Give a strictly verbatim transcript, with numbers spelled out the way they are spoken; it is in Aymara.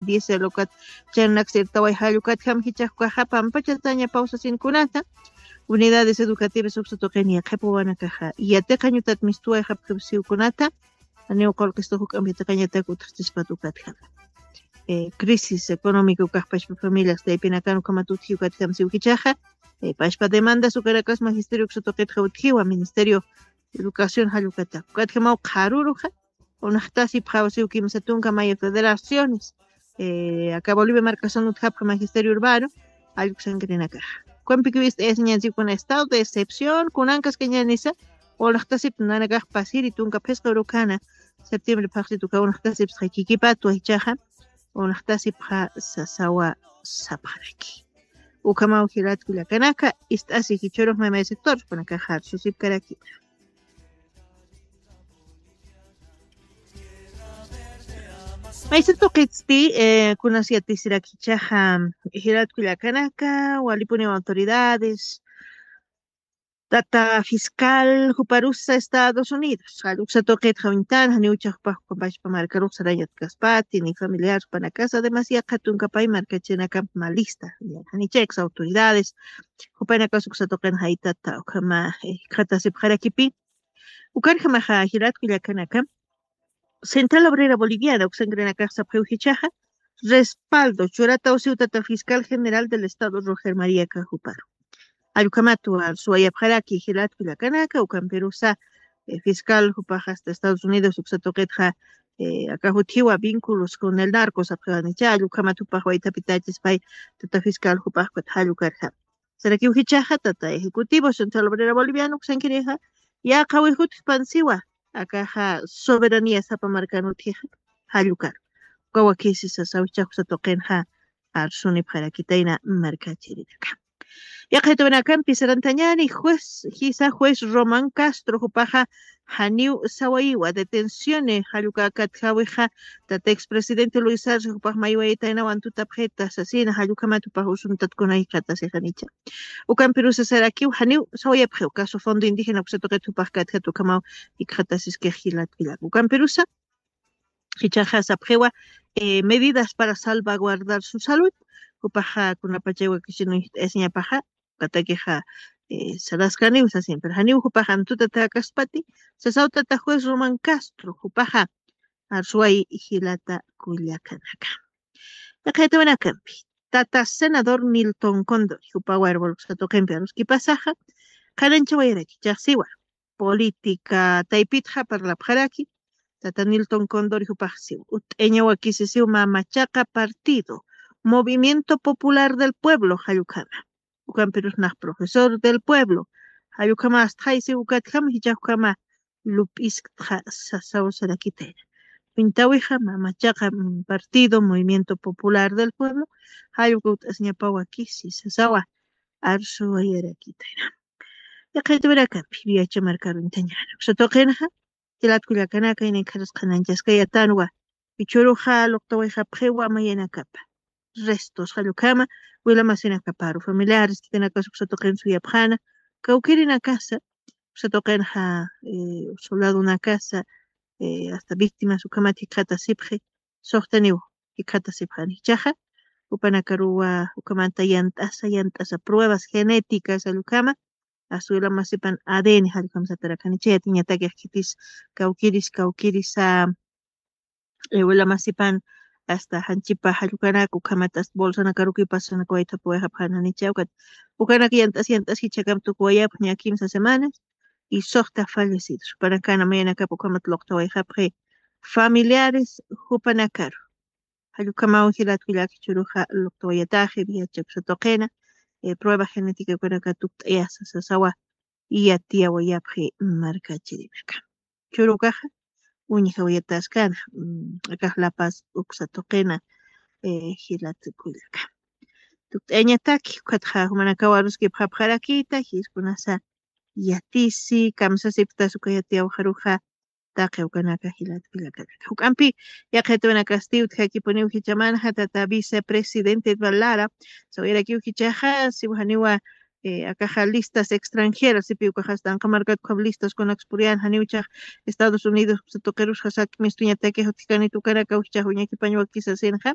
diésel ukat, chaynanak sirtaway jall ukatjam jichhax ukaxa pampachatañapaw sasin kunata. Unidades educativas uksa tuqini qhipuwanakaxa yatiqañutat mistuwayxapxipsiw kunata. Aniw qulqistux juk'amp yatiqañatak utjchispat ukatjam. Crisis económico kajpachpa familias taypinakan ukhamat utji ukatjam siw jichhaxa. Pachpa demandas ukanakas magisterio uksa tuqitxa utjiwa ministerio educación jall ukata ukatjamaw qharuruxa. Unaxtasipxaw siw kimsa tunka maya federaciones aka bolivia markasan utjapxa magisterio urbano. Jall uksankirinakaxa, ukampikiw ist'ayasiñan siw kuna estado de excepción kunankaskañanisa. Unaxtasip nanakax pasiri tunka phisqa urukana septiembre phaxsit uka unaxtasipsxa kikipatwa jichhaxa. Unaxtasipxa sasawa sapxaraki. Ukhamaw jilatku llakanaka ist'asi jichhurux mamay sector kunakaxa arsusipkarakita. Maysa tuqitsti kunas yatisirakichaxa jilatku llakanaka walipuniw autoridades. Tata fiscal juparusa estados unidos jalluksa tuqitxa uñtan janiw chajpaj jupampachpa markarux sarañatkaspati ni familiar jupanakasa además yaqha tunkapay markachinakamp malista janichayks autoridades jupanakas uksa tuqin jaytata ukhama jikxatasipxarakipi. Ukarjamaxa jilatku llakanaka central obrera boliviana uksankirinakax sapxiw jichhaxa respaldo churataw siw tata fiscal general del estado roger maría cajuparu. Jallukhamatwa suwayapxaraki jilatku llakanaka ukampirusa fiscal jupax asta estados unidos uksa tuqitxa aka jutjiwa vínculos con el narco sapxiwanicha jallukhamat jupax waythapitachispay tata fiscal jupax ukat jallukarja. Sarakiw jichhaxa tata ejecutivo central obrera boliviana uksankirixa yaqhawi jutjpansiwa akaxa soberanía sapa markan utjixa. Jallukar uka wakisi sasaw jichhax uksa tuqinxa arsunipxarakitayna markachirinaka. Yaqhaytawinakampi sarantañani juez jisa juez roman castro jupaxa janiw sawayiwa detenciones jalluka katjawixa tata expresidente luis arce jupax maywayitaynawan tutapxita sasina jallukhamat jupax usuntatkunay jikxatasixanicha. Ukampirusa sarakiw janiw sawayapxiw caso fondo indígena uksa tuqit jupax katjat ukhamaw jikxatasiskix jilatkullak ukampirusa jichhaxa sapxiwa medidas para salvaguardar su salud. Jupaxa kunapachay wakisinu jit'ayasiñapaxa ukatakixa saraskaniw sasin pero janiw jupax antutatäkaspati sasaw tata juez roman castro jupaxa arsuway jilata kullakanaka. Yaqhaytawinakampi tata senador milton condor jupa warwal uksa tuqimpi aruskipasaxa qhananchawayaraki chaxsiwa política taypitxa parlapxaraki. Tata nilton condor jupaxsiw utt'añawakisisiw mamachaqa partido movimiento popular del pueblo jallukhama. Ukampirusnax profesor del pueblo jallukhama astxaysiw ukatkhama jichhakhama lup'iskta sasaw sarakitayna. Pintawixa mamachaqa partido movimiento popular del pueblo jallukawt'asñapawakisi sasawa arsuwayarakitayna. Yaqhaytuwirakampi viacha markaruñtañana uksa tuqinxa jilatkullakanaka inikxarisqananchaskayatanwa. Ichuruxa luqtawayxapxiwa mayanakapa restos jallukama wilamasinakaparu familiares kitinakas uksa tuqin suyapxana kawkirinakasa uksa tuqinxa soldadonakasa hasta víctimas ukhamat jikxatasipxi. Suxtaniw jikxatasipxani jichhaxa jupanakaruwa ukhamanta yant'asa yant'asa pruebas genéticas jallukama aswila masipan adn jallukam satarakani chayatiñatakix khitis kawkiris kawkirisa wila masipan asta janchipa jallukanak ukhamat asta bolsanakaruki pasanakawaythapuwayxapxanani chawkat ukanak yant'as yant'as jichhakam tukuwayapxña kimsa semanas. Y suxta fallecidos jupanakana mayanakap ukhamat luqtawayxapxi familiares jupanakaru. Jallukamaw jilatkullak jichuruxa luqtawayataxi viacha uksa tuqina prueba genética ukanaka tukt'ayasa sasawa yatiyawayapxi markachirinaka. Churukaxa uñjawayataskana akax lapas uksa tuqina jilatkullaka. Tukt'ayañataki ukatxa jumanakaw aruskipxapxarakita jiskunasa yatisi kamsasiptas uka yatiyawxaruxa taqi ukanaka jilatkullakanaka juk'ampi yaqhitwinakasti utjakipuniw jichamanxa tata vicepresidente edval lara sawayarakiw jichaxa siwjaniwa akaxa listas extranjeras sipi ukaxasta anqamarkat ukham listas kunakspuryana janiw chax estados unidos tuqirusxa sak'mistuñatakix utjkanit ukanakaw jichax uñakipañ wakisasinxa